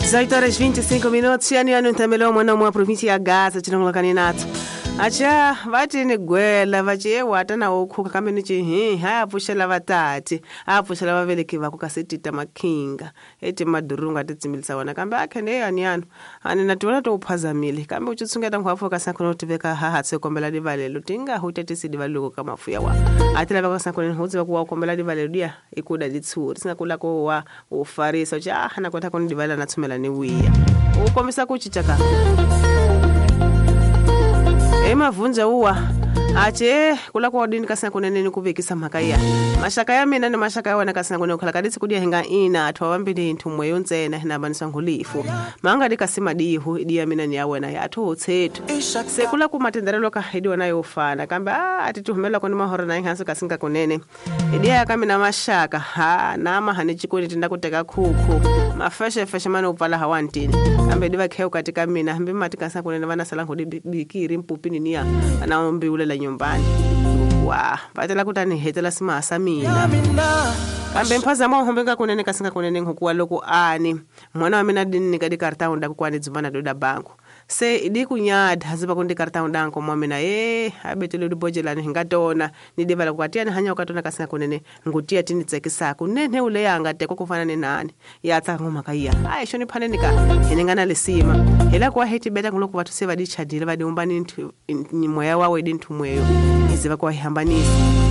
18 horas 25 minutos. Yani yani ntamelo mwana mwa província ya Gaza chilongoloka ni natso. Acha vati ni gwela vachi ewata na ukhuka kambe ni chi hi ha pfuxela vatati a pfuxela vaveleki va ku kasi tita makhinga eti madurunga ti tsimilisa wona kambe a khene yani yani ani na tiwona to uphazamile kambe u tshungeta ngwafu ka sakhona u tiveka ha ha tse kombela divalelo tinga hu tetisi divalelo ka mafuya wa a ti lava ka sakhona hu tsiva ku wa kombela divalelo dia ikuda ditshuri singa kula ko wa u farisa cha na kota ku ni divalela na tshumela ni wiya u kombisa ku cinca ka emavhunja uwa ache kula kwa dini kasina kunene ni kuvekisa mhaka ya mashaka ya mina ni mashaka ya wena kasina kunene khala kadisi kudia hinga ina atwa vambili nthumwe yo ntsena hina vanisa ngulifu manga dikasi madihu idi ya mina ni ya wena ya athu tsetu sekula ku matenderelo ka idi wena yo fana kambe a atituhumela koni mahora na inhanso kasinga kunene idi ya ka mina mashaka ha na mahane chikoni tinda kuteka khuku mafeshe feshe mane upfala hawantini kambe diva kheu katika mina hambi mati kasina kunene vana sala ngudi bikiri mpupini niya na ombiulela nyumbani wa vatela kutani hetela simasa mina kambe mphazamo hombe nga kunene kasinga kunene nkuwa loko ani mwana wa mina dinni ka dikarta unda kukwani dzumana doda banku se idi kunyada haziba kundi karta unda nko mwa mina abetele dibojelani hingatona ni divala kwatia ni hanya ukatona kasinga kunene ngutia tini tsekisa kunene ule yanga teko kufana ni nani ya tsa ngoma kaiya ai shoni phaneni ka hinengana lesima hela kwa heti beta nguloko bathu se ba dichadile ba diumbani ni moya wawe dinthumweyo iziba kwa hihambanisa